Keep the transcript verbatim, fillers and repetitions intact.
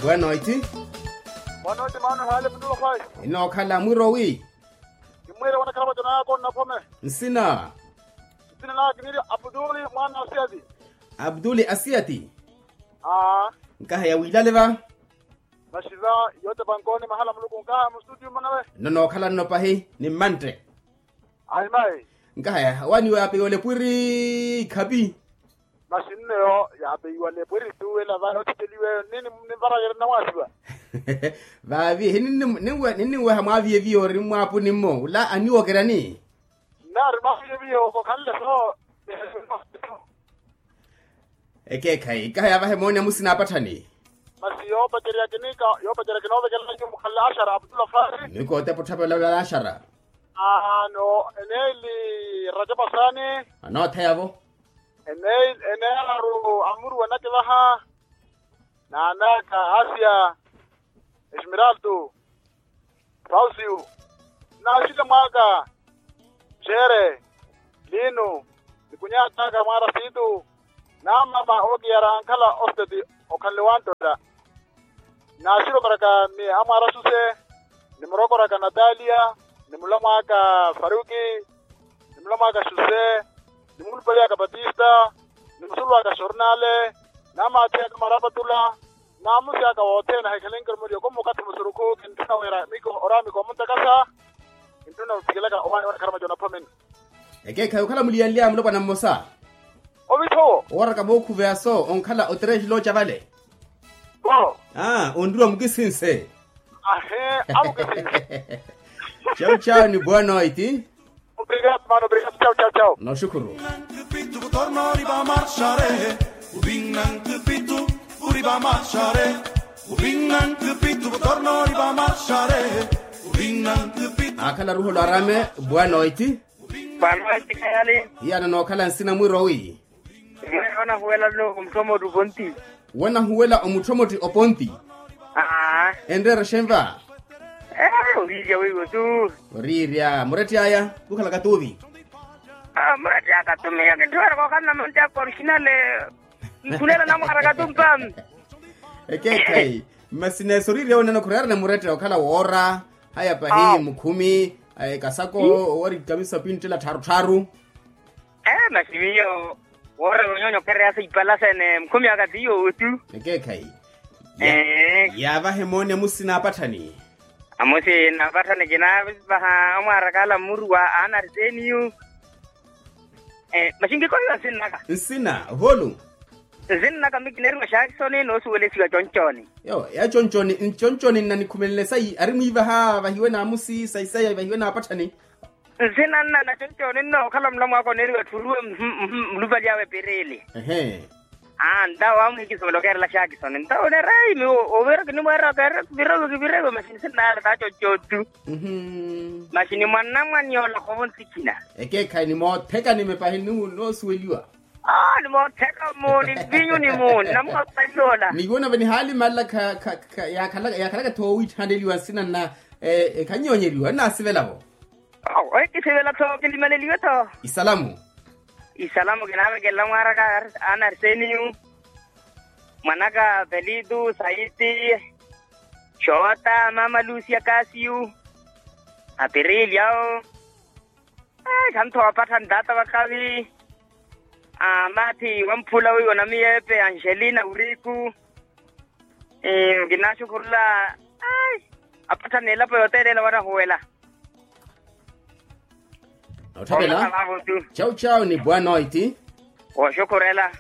Boa noite. Boa noite mano hale mutulokhayi. Inookhala mwirowi. Kimwire wanakhara vatonayako nnaphome. Nsina? Nsina naka kiniri abduli mwana asiyati. Abduli asiyati. Aa. Nkaha ya wilale va. Masi va yote vankooni mahala muluku nkaha mustudio manawe. Nno nookhala nno pahi ni mmantte. Ahimayi. Nkahaya waniwe apeyiwa lepwiri ikhapi. Masi nneyo yaapeiwa lepwiri tuwela vale othikeliweyo nini nivarayere nnamwaasiwa. Vaavi hininweha mwaaviye viyo ori mmwaapuni mmo ula aniwokeryani. Nnaari mwaaviye viyo okokhanle so. Ekeekhayi nkahaya vahe mooni amusina apatthani. Masi yoopacerya kinika yoopacerya kinoovekelanyu mukhanle axara abdullah fari. Nikootepa otthapela axara. Aano eneeli rajapasani. Anootheyavo. Eneeli eneeraru amuruwa nakivaha. Naanaka asia esmiraltu. Fausiu. Naaxile mwaaka. Xeere. Liinu. Nikunyaataka mwaara siitu. Naamama ookiyara ankhala osteti. Okhanle wanttota. Naaxirokoraka ni amwaara xuse. Nimurokoraka natalia. Nimulamwaka faruki. Nimulamwaka xuse. Nimulupaliyaka batista. Nimusulwaka xornale. Namaathiyaka maraapatula. Naamusi aka wothene ahikhalenke orumeliyo komukathi musurukhu kintthuna wira miko oraamiko omuntakasa. Kintthuna ophikilaka owaani wanakhara maco naphomeni. Ekeekhayi okhala muliyanlyaya mulopwana mmosa. Ovithowo owaraka vookhuveya so onkhala otereexi looca vale. Aa onriwa mukisinse. Ahe. Amukisinse. Chau chau ni boa noiti. Obrigado mano obrigado chau chau chau. Noxukhuru. Akhala ruholo arame. Boa noiti. Boa noiti khayali. Hiyana nookhala nsina mwirowi. Mweya onahuwela nno omutthomoti oponti. Wonahuwela omutthomoti oponti. Aa. Enreera xenva. Ee oriirya weiwo tu. Oriirya muretti aya. Kukhalaka tuuvi. Muretti aka tu miyo kinthuweraka okhala namantti aka orixinale. Nkhulela namwaaraka tu mpami. Ekeekhayi. Masi neesa oriirya wenene khurerane muretti okhala woora. Haya pahi mukhumi. Kasako owari kamisa pinttela tthaaru tthaaru. Ee masi miyo woora yonyoonya okhereya sa ipala sene mukhumi aka ti yoowo tu. Ekeekhayi. Yaavahe mooni amusina apatthani. Amusina apatthani kinaavaha amwaaraka ala mmuruwa aana ariseniyu. Masi nkikohiwa nsinnaka. Nsina ohoolu. Nsinnaka mi kineeriwa xaakisoni noosuwelesiwa concooni. Yo ya concooni nna nikhumelenle sayi ari mwiivaha vahiwe naamusi sayi sayi vahiwe naapatthani. Nsina nna na concooni nnookhala mulamwaaka oneeriwa etthu oruwe. Mulupali awe pirili. Aa ntawo amuhikisomela okeerela xaakisoni ntawo oneera ayi miwo oviira kinimweeraka ereke virewe kivirewe masi nsinnaale taaconcooni tu. Masi ni mwanamwani yoola khovo nsikhina. Ekeekhayi ni mootheka ni mepahi ni noosuweliwa. Aa ni mootheka mu ni mvinyu ni mu ni namukhapali yoola. Ni yoola venihaali malla kha kha kha yaakhalaka thoowitthaneliwa nsina nna. Khanyoonyeliwa nnaasivela-vo. Awo ehi kisivela tho kilimaleliwe tho. Isalamu. Isalamu kinaavekelela mwaaraka ana ariseniyu. Mwanaka velitu saiti. Xoota mama lusia kasiyu. Apirili awo. Khantho wapattha ntaata vakhavi. Mathi wamphula wiwo namiyepe angelina wiriku. Kinaaxukhurula. Apattha n'elapo yooteelela wanahuwela. Nootthavela. Chau chau ni boa noiti. Wooxukhurela.